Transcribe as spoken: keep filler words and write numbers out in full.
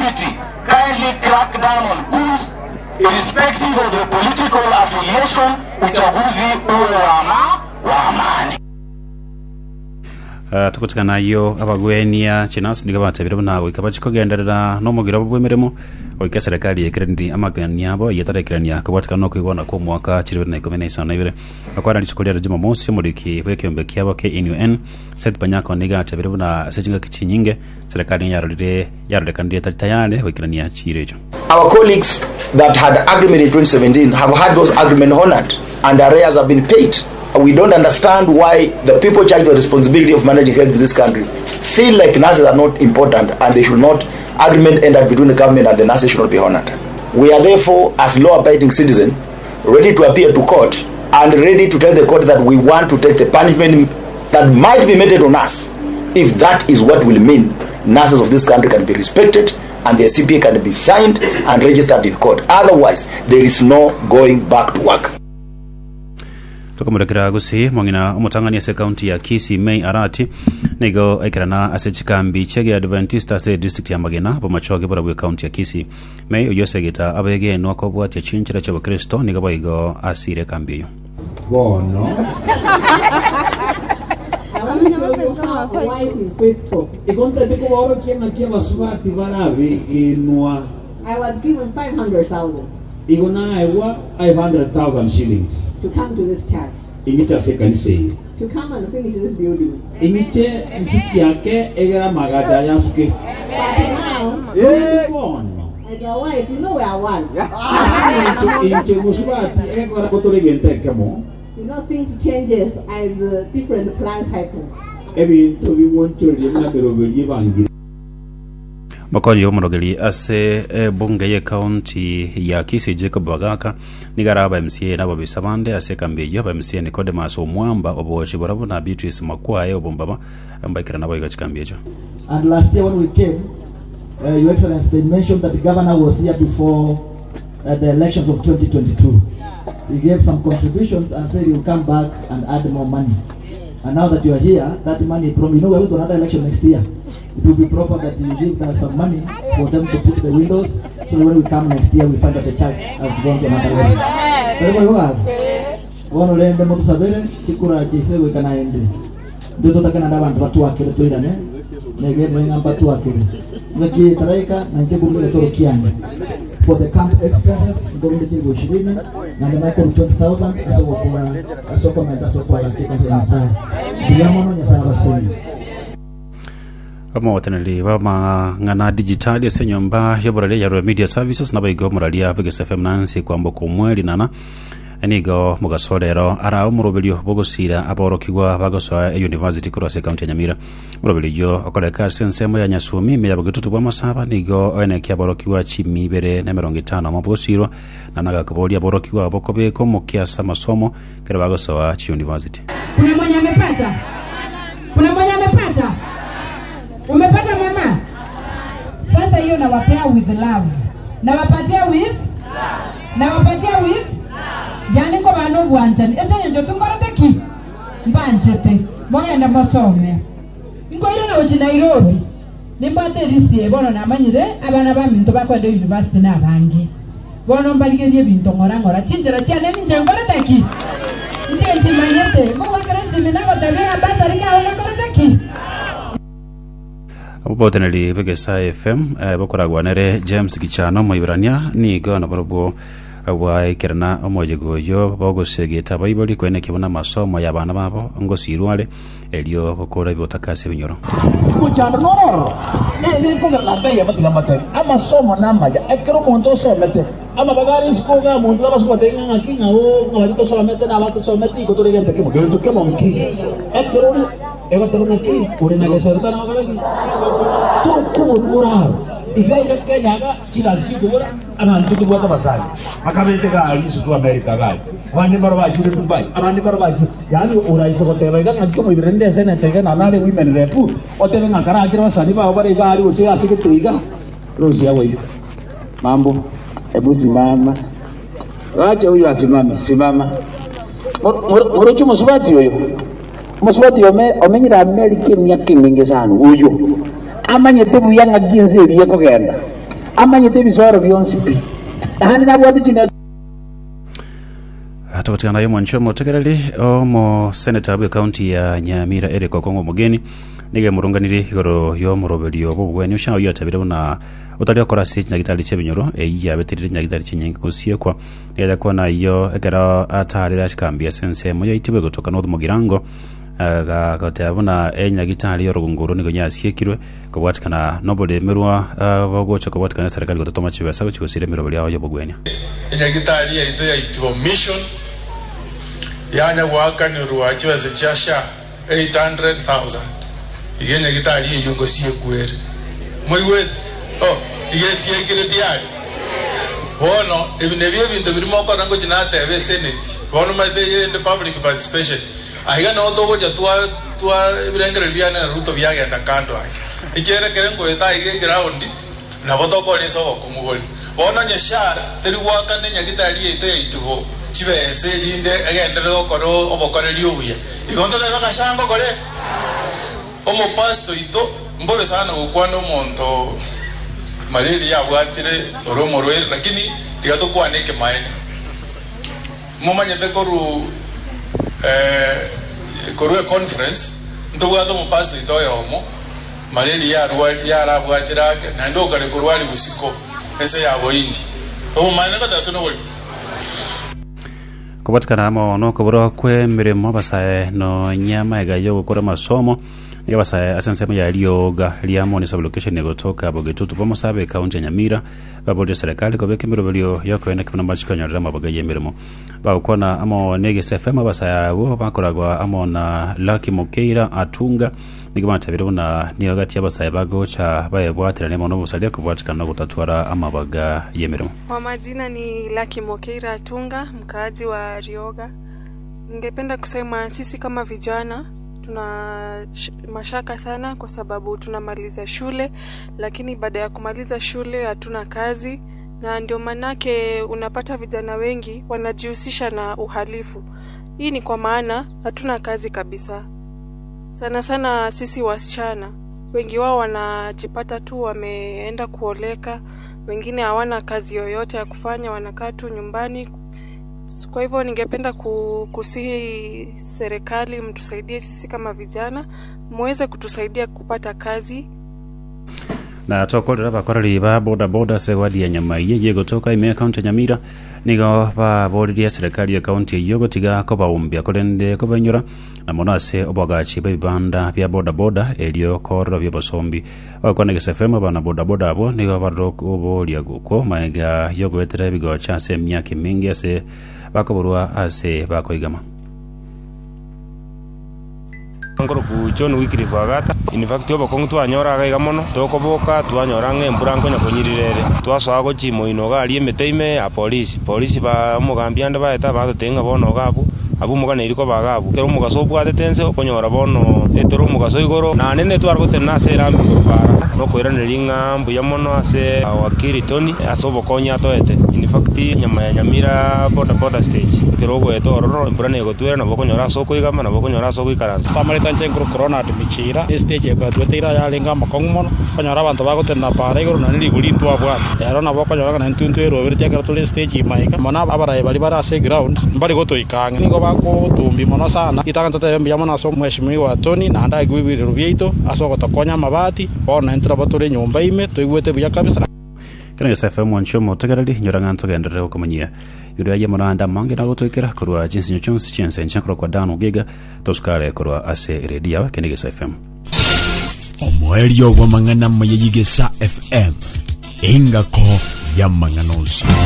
security kindly crack down on goons irrespective of the political affiliation, uchaguzi uwe wa ama- wa amani. Uh, tugotigana ayio abagwenia chinasi nigo batabire buna goika bachikogenderera na omogiro obo bw'emeremo goika eserekari ekeraniri amagani abo eyetarekerania kobwatikana na okoigwana kwa omwaka chiri bibere na ikomi na isano na ibere bakwana rituko riare Jumamosi omoriki bw'ekeombe kiabo K N U N Seth Panyako nigo atabire buna ase chingaki chinyinge serikali yarorire yarorekanire etari tayari goikerania chiro echo. Our colleagues that had agreement in twenty seventeen have had those agreement honored and arrears have been paid. We don't understand why the people charged with the responsibility of managing health in this country feel like nurses are not important and they should not, agreement entered between the government and the nurses should not be honored. We are therefore, as law-abiding citizens, ready to appear to court and ready to tell the court that we want to take the punishment that might be meted on us if that is what will mean nurses of this country can be respected and their C P A can be signed and registered in court. Otherwise, there is no going back to work. Tokomorekera gose mong'ina omotang'ani ase ekaunti ya Kisii May Arati nigo aikerana ase chikambi chiege Adventista ase district ya Magena bomachoge borabwo ekaunti ya Kisii. May oyio osegeta abegenwa kobwatia chinchera chia obokristo nigo boigo asire ekambi eyo. Bono. I want to show you how a wife is faithful. Igo ntete koborokia ng'aki abasubati barabegenwa. I was given five hundred thousand Igo naegwa five hundred thousand shillings to come to this church, ing'iche ase ekanisa eye to come and finish this building. Ing'iche nsuki yake egera magacha yasuke. But now, Eh, bono as a wife, you know we are one. Ase eng'encho inche mosubati egekora kotore egento ekemo. You know, things changes as uh, different plans happen. Ebinto bigwonchoreria buna meroberio ebangire. Mokonyi omorogeri ase ebunge ye county ya Kisii Jacob Bagaka nigo araba M C A nababisa bande ase ekambi eyio aba M C A Nicodemus Omwamba obochi borabwo na Beatrice Makwae obombaba mbaikera nabo igo chikambi echo. And last year when we came, uh, Your Excellency, they mentioned that the governor was here before uh, the elections of twenty twenty-two. He gave some contributions and said he will come back and add more money. And now that you are here, that money, from you know, we're going to another election next year. It will be proper that you give them some money for them to put the windows, so that when we come next year, we find that the church has gone to another level. Pero kwa hiyo, bono rende motusabere chikura chise gwikana ende ndio totakana na abantu batwakire twirane negende ng'amba twakire ngaki taraika na nche bumile toro kiande for the camp expenses ngorunde chilingi ishirini na ndema iko twenty thousand asoko kwa asoko menta asoko kwa katika nyasaye biamono nyasaye baseni. Omogoteneri bamang'ana digitali ase enyomba y'oboraria ya Royal Media Services nabaigo omoraria b'Egesa F M Nancy kwamboka omweri nana nigo mugasorero ara omoroberio bogosira aborokigwa bagosoa e university korwa ase ekaunti ya Nyamira omoroberio okoreka ase ensemo ya Nyasumi ime ya bogitutu bwa masaba nigo oenekia aborokigwa chimi ibere na emerongo etano omo bogosirwa na nagakoboria aborokigwa abo kobeka omokia ase amasomo kero bagosoa chiuniversity. Kuna mwenye amepata? Kuna mwenye amepata? Umepata, mama? Sasa hiyo nawapea with love. Nawapatia with? Nawapatia with? Yani ko bana obwanchani ese nyencho tungorete ki mbanchete mogenda mosome nkoire nochi Nairobi nimbwate erisi bono namanyire abana baminto bakwenda university nabange bono mbarigerie ebinto ng'ora ng'ora chinchera chiane ninche nkorete ki nche nchimanyete ngogwakera esimi nagotabia bursary kao nakorete ki. Oboteneri b'Egesa F M eh, bokoragwa nere James Gichano moiberania nigo naborobwo bwaekerana omoyego oyo bogosegeta abaibori kweneki buna amasomo ya abana babo ngosirware erio gokora ebotaka ase ebinyoro. Kuchanda nororo nikogera bei amatiga matari amasomo namaya ekero omonto osomete amabagari isiko omonto abasogotebia ng'aki ng'ao ng'abari tosomete nabatosomete iko toregente kemo gento kemo nki ekero ori egoteba ng'aki ore na geserta nabagaraki tokoborora iga iga Kenya ga chigasi chikobora abantu tobwate abasani bakabete gari isuku America gari abandi baro bachire Dubai abandi baro bachire yani uraise goteba iga ng'aki omoibere nde esenete iga nanare women rep otebe ng'a karakire abasani bao bare igari gose ase gete iga rosia weyo. Mambo, hebu simama, wacha huyu asimame. Simama morocho musubati oyo musubati omenyire America emiaka emingi sana uyo amanyete buya ng'aki ense eria ekogenda. Amanyete ebisoro bionsi pi naende nabwate chine. Tukutikana yo mwancho motegereri omo senator bwe county ya Nyamira Eric Okongo Mugeni nige murunganiri igoro yo muroberio bobweni ushanga yo atabire buna utari okora se nyagitari chebinyoro eyi yabetirire nyagitari chinyingi kusiekwa nigaja kuona iyo ekero atarire ashikambia sense moyo itibwe gutoka no mugirango gagotea buna enyagitari yorugunguru nigo nyasiekirwe kobwatikana noboremerwa bogocha kobwatikana serikali gototoma chibesa gochigosire emiroberi yao yobogwenia. Enyagitari yaito yaitibo mission yanya gwakanirwa chibesa chia sha eight hundred thousand iga enyagitari eyo ngosiekwere moigwete oh iga esiekire tiari bono ebi nebio ebinto birimo okora ngochi natebe esenate bono maete yende public participation aiga no togocha twa twa ebirengereri biane na Ruto biagenda kando ake ekiere ngoeta aiga eground nabo tokoresa obokumugori bono nyesha teri gwakana enyagitari yaito yaitibo chibese rinde egendere gokora obokoreri obuya igo ntorebe gashango kore omopasto ito mbobe sana gokwana omonto malaria yabwatire ori omorwaire lakini tiga tokwana ekemaene momanyete koru eh, koru econference ntobwate omopasto ito oyomo malaria yarabwatire ake naende okare korwari bosiko ese yaboindi obomaene gotase nobori kubatikana amo nokobora kwe mirimo basae no nyama ega yo gukora masomo niga basae ase ensemo ya rioga ria moni sublocation gotoka bogetutu bomosabe county ya Nyamira baboria serikali kobeka emiroberio yokoenda kibona bachikonyorera amaboga ya emirimo bagokwana amo ne F M abasae abo bakoragwa amo na Lucky Mokeira Atunga niga batabire buna niyo gati abasae bagocha bayebwatirane mono obosaria kobwatikana nogotatwara amabaga y'emirimo. Kwa majina ni Lucky Mokeira Atunga, mkaaji wa Rioga. Ningependa kusema sisi kama vijana tuna mashaka sana kwa sababu tunamaliza shule, lakini baada ya kumaliza shule hatuna kazi, na ndio manake unapata vijana wengi wanajihusisha na uhalifu. Hii ni kwa maana hatuna kazi kabisa. Sana sana sisi wasichana, wengi wao wanajipata tu wameenda kuoleka, wengine hawana kazi yoyote ya kufanya, wanakaa tu nyumbani. Kwa hivyo ningependa kusihi serikali mtusaidie sisi kama vijana, muweze kutusaidia kupata kazi. Na tokorera bakoreri ba boda boda se wadi ya Nyamaiye yegotoka ime county ya Nyamira nigo baboririe serikali ya county eyo gotiga kobaumbia korende kobenyora na mono ase obwagachi bw'ebibanda bya boda boda erio korora by'obosombi okwana Gesa F M abana boda boda abo nigo barokoboria gukwo maega yogoetera ebigocha ase emiaka emingi ase bakoborwa ase bakoigama. Ngoro John Wycliffe Agata in fact obokongu twanyora gaiga mono tokoboka twanyora ng'embura nkonya konyirirere twasoa gochimo ino gari emete a polisi polisi ba omogambi ande baeta bagotenga bono gabu abu muganeri ko bagabu kero omugaso obwatete ense okonyora bono etoro omugaso igoro nanene twaragotena ase erambi igoro bara nokoiraneria ng'a mbuya mono ase wakiri Tony ase obokonya atoete in fact nyama ya Nyamira boda boda stage kero ogoeta ororo embura negotwera nabo okonyora ase okoigama nabo okonyora ase ogoikaransa samarita nche nkuru corona adimichira estage ekwatwete yarenga amakong'u mono okonyora abanto bagotenda para igoro nani rigori ntwabwate ero nabo okonyora ng'a nintwe erobere ekero tore stage imaika mono abarayi bari bare ase eground mbari gotoikang'a nigo bagotumbi mono sana itanga totebe mbuya mono ase omweshimiwa Tony naende aigwe ebirero biaito ase ogotokonya amabati bono intwe nabo tore nyomba ime toigwete buya kabisa. Kena Gesa F M mwancho motegereri nyora ng'anto genderere gokomanyia yuri aye moranda mange na gotoikera korwa chinsinyo chonsi chiense nchankoro kwa dano giga tosukare korwa ase redio kene Gesa F M. Omoerio bwa mang'ana maye Gesa F M engako ya mang'ana onsi.